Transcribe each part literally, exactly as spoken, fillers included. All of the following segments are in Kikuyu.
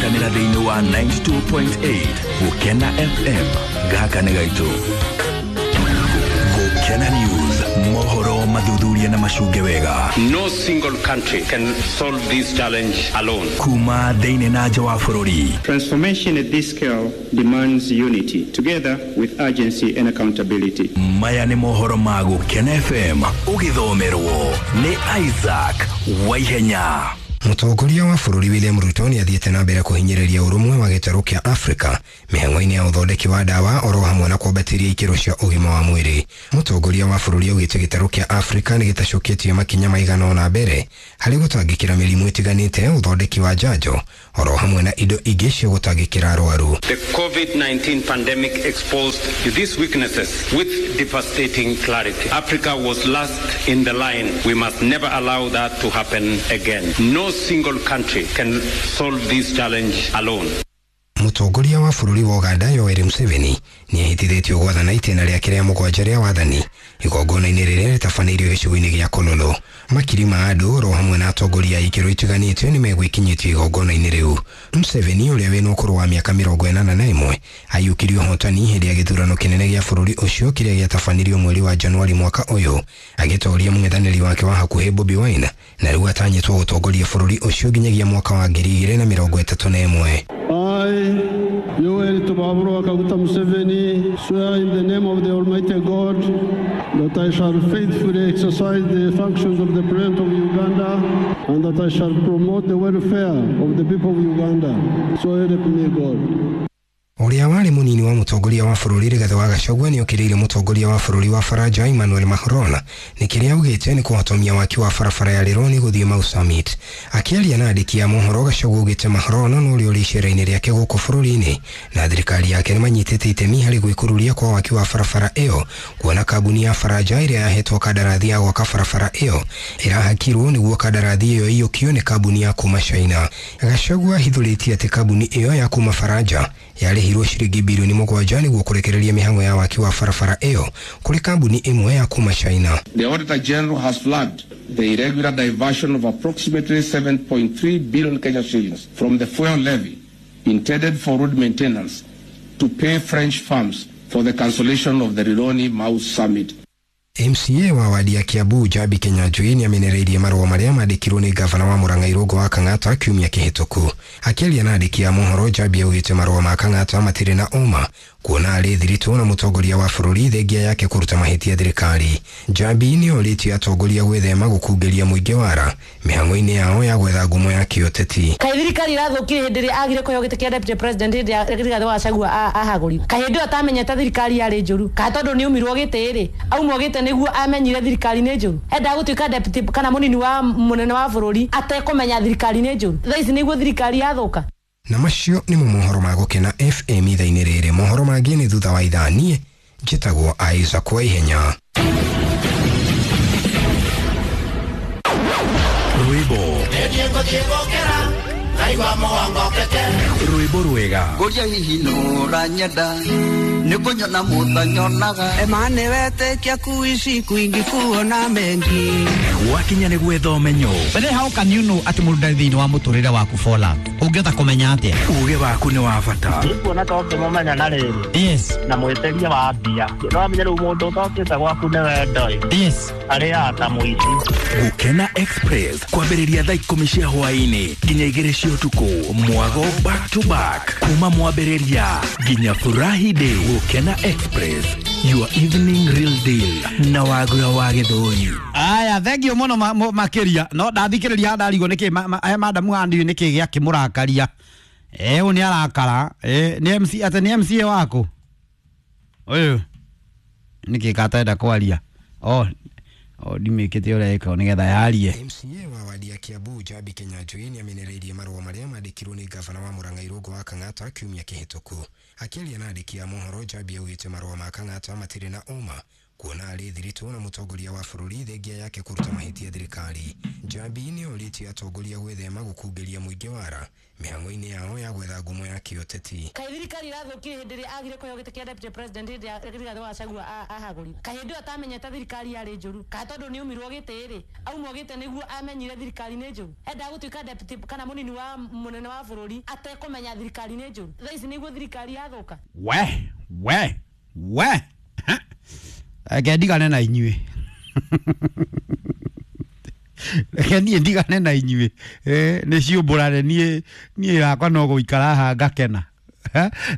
Ngwatanĩra thĩinĩ wa ninety two point eight Gũkena F M gaka nĩ gaitũ. Gũkena News, mohoro mathuthuria na macunge wega. No single country can solve this challenge alone. Kuma thĩinĩ na nja wa bũrũri. Transformation at this scale demands unity, together with urgency and accountability. Maya nĩ mohoro ma Gũkena F M, ũgĩthomerwo nĩ Isaac Waihenya. Mũtongoria wa bũrũri William Ruto nĩ athiĩte na mbere kũhinyĩrĩria ũrũmwe wa gĩtarũ kĩa Afrika mĩhang'o-inĩ ya ũthondeki wa ndawa oro hamwe na kwambatĩria ikĩro cia ũgima wa mwĩrĩ. Mũtongoria wa bũrũri augĩte gĩtarũ kĩa Afrika nĩ gĩtacũkĩtie makinya maigana ũna mbere harĩ gũtangĩkĩra mĩrimũ ĩtiganĩte, ũthondeki wa njanjo oro hamwe na indo ingĩ cia gũtangĩkĩra arwaru. The COVID nineteen pandemic exposed these weaknesses with devastating clarity. Africa was last in the line. We must never allow that to happen again. No single country can solve this challenge alone. Mũtongoria wa bũrũri wa Uganda Yoweri Museveni nĩ ahĩtithĩtio gwathana itĩna rĩake rĩa mũgwanja rĩa wathani igongona-inĩ rĩrĩa rĩtabanĩirio gĩcigo-inĩ gĩa Kololo. Makiri ma andũ oro hamwe na atongoria a ikĩro itiganĩte nĩ megwĩkinyĩtie igongona-inĩ rĩu. Museveni ũrĩa wĩna ũkũrũ wa mĩaka mĩrongo ĩnana na ĩmwe aiyũkirie ũhotani hĩndĩ ya gĩthurano kĩnene gĩa bũrũri ũcio kĩrĩa gĩatabanirio mweri wa Januari mwaka ũyũ, agĩtoria mũng'ethanĩri wake wa hakuhĩ Bobi Wine, na rĩu atanyĩtwo gũtongoria bũrũri ũcio nginyagia mwaka wa ngiri igĩrĩ na mĩrongo ĩtatũ na ĩmwe. I, Yoweri Tibuhaburwa Kaguta Museveni, swear in the name of the Almighty God that I shall faithfully exercise the functions of the President of Uganda and that I shall promote the welfare of the people of Uganda. So help me God. Ũrĩa warĩ mũnini wa mũtongoria wa bũrũri Rigathĩ wa Gachagua nĩ okĩrĩire mũtongoria wa bũrũri wa Faranja Emmanuel Macron nĩ kĩrĩa augĩte nĩ kũhotomia waki wa barabara ya Rironi gũthiĩ Mau Summit. Akĩaria na andĩki a mohoro, Gachagua augĩte Macron no ũrĩa ũrĩ icera-inĩ rĩake gũkũ bũrũri-inĩ na thirikari yake nĩ manyitĩte itemi harĩ gwĩkururia kwa waki wa barabara ĩyo, kuona kambuni ya Faranja ĩrĩa yahetwo kandarathi ya gwaka barabara ĩyo ĩrahakirwo nĩguo kandarathi ĩyo ĩiyũkio nĩ kambuni ya kuma China. Gachagua ahithũrĩtie atĩ kambuni ĩyo ya kuma Faranja yarĩhirwo ciringi bilioni mũgwanja nĩguo kũrekereria mĩhang'o ya waki wa barabara ĩyo kũrĩ kambuni ĩmwe ya kuma China. The Auditor General has flagged the irregular diversion of approximately seven point three billion Kenya shillings from the fuel levy intended for road maintenance to pay French firms for the cancellation of the Rironi Mau Summit. M C A wa wadi ya Kiambu Njambi Kinyanjui nĩ amenereirie marũa marĩa mandĩkirwo nĩ gavana wa Murang'a Irũngũ wa Kang'ata kiumia kĩhĩtũku. Akĩaria na andĩki a mohoro, Njambi augĩte marũa ma Kang'ata matirĩ na ũma kuona arĩ thiritũ na mũtongoria wa bũrũri thengia yake kũruta mahĩtia thirikari. Njambi nĩ orĩtie atongoria gwĩthema gũkungĩria mũingĩ wara mĩhang'o-inĩ yao ya gwetha ngumo ya kĩũteti. Kaĩ thirikari ĩrathũkire hĩndĩ ĩrĩa agire kũheo gĩtĩ kĩa deputy president hĩndĩ ya Rigathĩ wa Gachagua ahagũrirwo. Kaĩ hĩndĩ ĩyo atamenyete thirikari yarĩ njũru, kaĩ tondũ nĩ aumirwo gĩtĩ rĩ, aumwo gĩtĩ nĩguo amenyire thirikari nĩ njũru. Endaga gũtuĩka deputy kana mũnini wa mũnene wa bũrũri atekũmenya thirikari nĩ njũru. Thaa ici nĩguo thirikari yathũka. Na macio nĩmo mohoro ma Gũkena F M ithaa-inĩ rĩrĩ. Mohoro mangĩ nĩ thutha wa ithaa. Niĩ njĩtagwo Isaac Waihenya. Rwĩmbo rwĩmbo rwega ngũria hihi nũranyenda nĩ kũnyona mũtanyonaga emane wetĩkia kuishi kwingi kuona mengi gwakinya nĩ gwetha ũmenyo. But how can you know atĩ mũndũ ndarĩ thĩinĩ wa mũtũrĩre waku for love? Ũngĩhota kũmenya atĩa? Ũgĩ waku nĩ wa bata. Nĩkuona ta ũngĩmũmenya na rĩrĩ. Yes. Na mwĩtĩria wa mbia. No amenye rĩu mũndũ ũtokĩte gwaku nĩ wendo ĩ. Yes. Arĩaga ta mũici. Gũkena Express kwambĩrĩria thaa ikũmi cia hwaĩ-inĩ nginya igĩrĩ cia ũtukũ, mwago back to back kuma mwambĩrĩria nginya Furahi Day. Gũkena Express, your evening real deal na wagura wa Gĩthũri. Aya, thank you mũno makĩria. No ndathikĩrĩria ndarigwo nĩkĩ aya madamu handi nĩkĩ gĩakĩmũrakaria. Eh, ũyũ nĩ arakara. Eh, nĩ M C atĩ nĩ M C A waku. Ũyũ nĩkĩ katenda kwaria. Oh, o ndimĩkĩte ũrĩa ĩka nĩgetha yarie. M C A wa wadi ya Kiambu Njambi Kinyanjui nĩ amenereirie marũa marĩa mandĩkirwo nĩ gavana wa Murang'a Irũngũ wa Kang'ata kiumia kĩhĩtũku. Akĩaria na andĩki a mohoro, Njambi augĩte marũa ma Kang'ata matirĩ na ũma Kuona arĩ thiritũ na mũtongoria wa bũrũri thengia yake kũruta mahĩtia thirikari. Njambi nĩ orĩtie atongoria gwĩthema gũkungĩria mũingĩ wara mĩhang'o-inĩ yao ya gwetha ngumo ya kĩũteti. Kaĩ thirikari irathũkire hĩndĩ ĩrĩa agire kũheo gĩtĩ kĩa deputy president hĩndĩ ĩrĩa Rigathĩ wa Gachagua ahagũrirwo. Kaĩ hĩndĩ ĩyo atamenyete thirikari yarĩ njũru, kaĩ tondũ nĩ aumirwo gĩtĩ rĩ, aumwo gĩtĩ nĩguo amenyire thirikari nĩ njũru. Endaga gũtuĩka deputy kana mũnini wa mũnene wa bũrũri atekũmenya thirikari nĩ njũru. Thaa ici nĩguo thirikari yathũka. We we we reke ndigane na inyuĩ, reke niĩ ndigane na inyuĩ, nĩ ciũmbũrane niĩ niĩ yakwa no gũikara haha ngakena.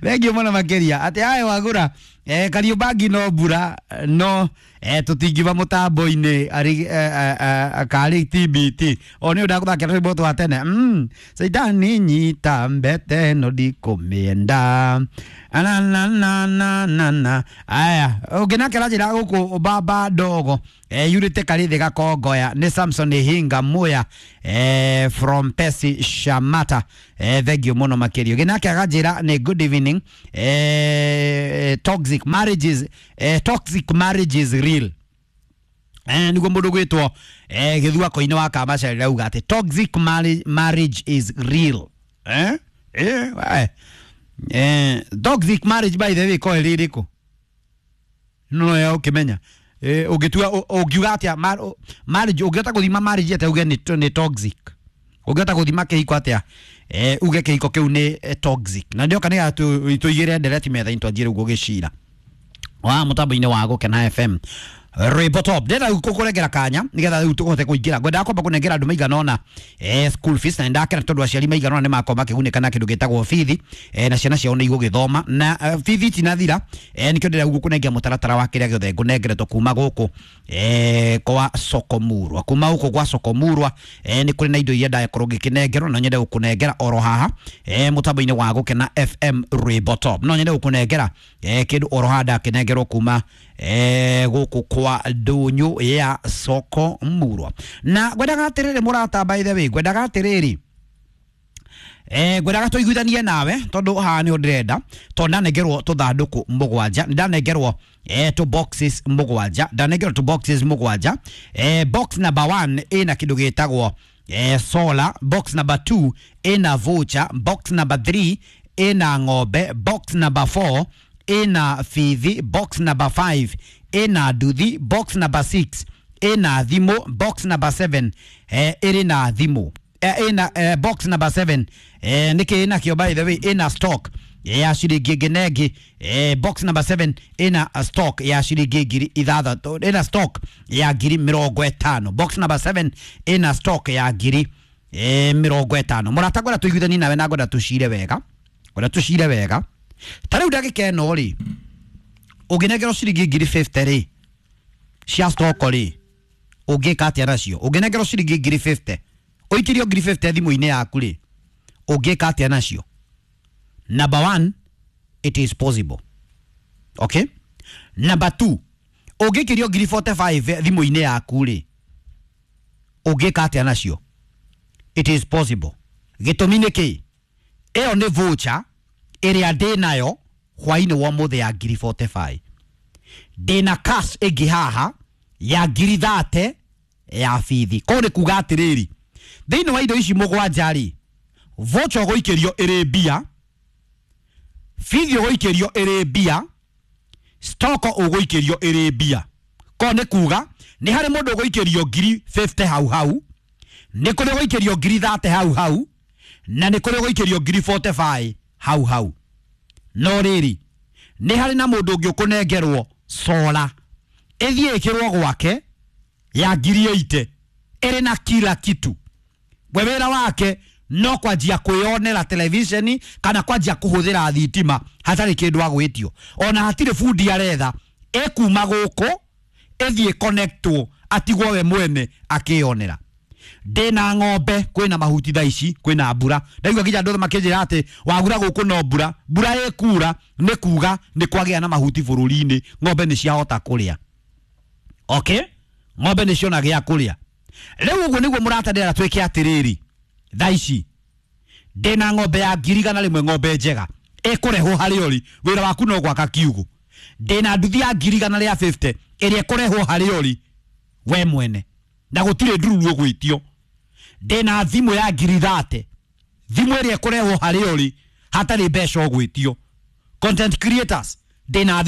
Thengiũ mũno makĩria atĩ aye wagũra eh, Kariũmbangi no mbura no eh, tũtingiuma mũtambo-inĩ arĩ eh, karĩ T B T o nĩ ũndagũthakĩra rwĩmbo twa tene mm, Caitani nyita mbete no ndikũmĩenda na na na na na na aya ũngĩnakĩra njĩra gũkũ baba ndogo eh, yurĩte karĩthĩ gakongoya nĩ Samson Hinga Muya eh, from Pesi Shamata eh, thengiũ mũno makĩria. Ũngĩnakĩra njĩra nĩ good evening eh, toxic marriages eh, toxic marriage is real eh, niguo mundu gwitwo eh, githuako-inĩ wa Kamacarĩ auga atĩ toxic marriage, marriage is real eh? Eh, eh, eh, toxic marriage by the way ko ĩrĩ no ya ukimenya eh, ũngĩtua ũngiuga atĩa marriage ũngĩhota gũthima marriage atĩa uge nĩ toxic, ũngĩhota gũthima kĩhiko atĩa eh, uge kĩhiko kĩu nĩ toxic. Na ndioka nĩ tũigĩre ndereti metha-inĩ twanjie rĩu gũgĩcira wa mutambo-inĩ wa Gũkena F M rwĩmbo top. Ndĩrenda rĩu kũkũrengera kanya nĩgetha rĩu tũhote kũingĩra. Ngwendaga kwamba kũnengera andũ maigana ũna eh, school fees, na nĩndakena tondũ aciari maigana ũna nĩmakorwo makĩgunĩka na kĩndũ gĩtagwo bithi eh, na ciana ciao nĩ igũgĩthoma na uh, bithi itinathira eh, nĩkĩo ndĩrenda gũkũnengera mũtaratara wa kĩrĩa gĩothe ngũnengeretwo kuma gũkũ eh, kwa Sokomurwa. Kuma gũkũ kwa Sokomurwa eh, nĩ kũrĩ na indo iria ndakorwo ngĩkĩnengerwo na nyende gũkũnengera oro haha eh, mũtambo-inĩ wa Gũkena F M rwĩmbo top. No nyende gũkũnengera eh, kĩndũ oro haha ndakĩnengerwo kuma eh, gũkũ kwa ndunyu ya Sokomurwa. Na ngwendaga atiriri murata, by the way ngwendaga atiriri eh ngwendaga tuiguithanie nawe tondu haha ni ndirenda tondu ndanengerwo tuthanduku mugwanja, ndanengerwo eh two boxes mugwanja, ndanengerwo two boxes mugwanja. eh box number one ina kindu gitagwo eh solar, box number two ina voucher, box number three ina ng'ombe, box number four ina fithi, box number five ina nduthi, box number six ina thimu, box number seven eh, iri na thimu eh, ina eh, box number seven eh, niki ina kio by the way ina stock ya ciringi ĩngĩ na ĩngĩ eh, box number seven ina stock ya ciringi ngiri ithathatũ, ina stock ya ngiri mĩrongo ĩtano, box number seven ina stock ya ngiri eh, mĩrongo ĩtano. Mũrata ngwenda tũiguithanie nawe na ngwenda tũcire wega, ngwenda tũcire wega. Ta rĩu ndagĩka ĩno rĩ ũngĩnengerwo ciringi ngiri fifty rĩ cia stock rĩ ũngĩka atĩa nacio? Ũngĩnengerwo ciringi ngiri fifty ũikĩrio ngiri fifty thimũ-inĩ yaku rĩ ũngĩka atĩa nacio? Number one, it is possible. Okay? Number two, ũngĩikĩrio ngiri forty-five thimũ-inĩ yaku rĩ ũngĩka atĩa nacio? It is possible. Gĩtũmi nĩ kĩ? Ĩyo nĩ voucher ĩrĩa ndĩ nayo hwainĩ wa ũmũthĩ ya ngiri forty-five. Ndĩna cash ĩngĩ haha ya ngiri thate ya bithi. Koguo nĩ kuga atĩrĩrĩ, thĩinĩ wa indo ici mũgwanja rĩ, voucher ũgũikĩrio ĩrĩ mbia, bithi ũgũikĩrio ĩrĩ mbia, stock ũgũikĩrio ĩrĩ mbia. Koguo nĩ kuga nĩ harĩ mũndũ ũgũikĩrio ngiri fifty hau hau, nĩ kũrĩ ũgũikĩrio ngiri thate hau hau, na nĩ kũrĩ ũgũikĩrio ngiri forty-five hau hau. No rĩrĩ nĩ harĩ na mũndũ ũngĩ ũkũnengerwo sola ĩthiĩ ĩkĩrwo gwake ya ngiri eighty ĩrĩ na kila kitu. We wĩra wake no kwanjia kwĩyonera televisheni kana kwanjia kũhũthĩra thitima hatarĩ kĩndũ agwĩtio, ona hatirĩ bundi aretha, ĩkuma gũkũ ĩthiĩ connectwo atigwo we mwene akĩyonera. Ndĩna ng'ombe kwĩna mahuti thaa ici kwĩna mbura, ndaigua nginya andũ makĩnjĩra atĩ wagura gũkũ no mbura, mbura ĩkura nĩ kuga nĩ kwagĩa na mahuti bũrũri-inĩ, ng'ombe nĩ ciahota kũrĩa. Okay, ng'ombe nĩ ciona gĩa kũrĩa. Rĩu ũguo nĩguo mũrata ndĩrera twĩke atĩrĩrĩ, thaa ici ndĩna ng'ombe ya ngiri igana rĩmwe, ng'ombe njega ĩkũrehwo harĩa ũrĩ, wĩra waku no gwaka kiugũ. Ndĩna nduthi ya ngiri igana rĩa fifty ĩrĩa ĩkũrehwo harĩa ũrĩ we mwene na gũtirĩ ndururu ũgwĩtio. Ndĩna thimũ ya ngiri thate, thimũ ĩrĩa ĩkũrehwo harĩa ũrĩ hatarĩ mbeca ũgwĩtio. Content creators, ndĩna thimũ.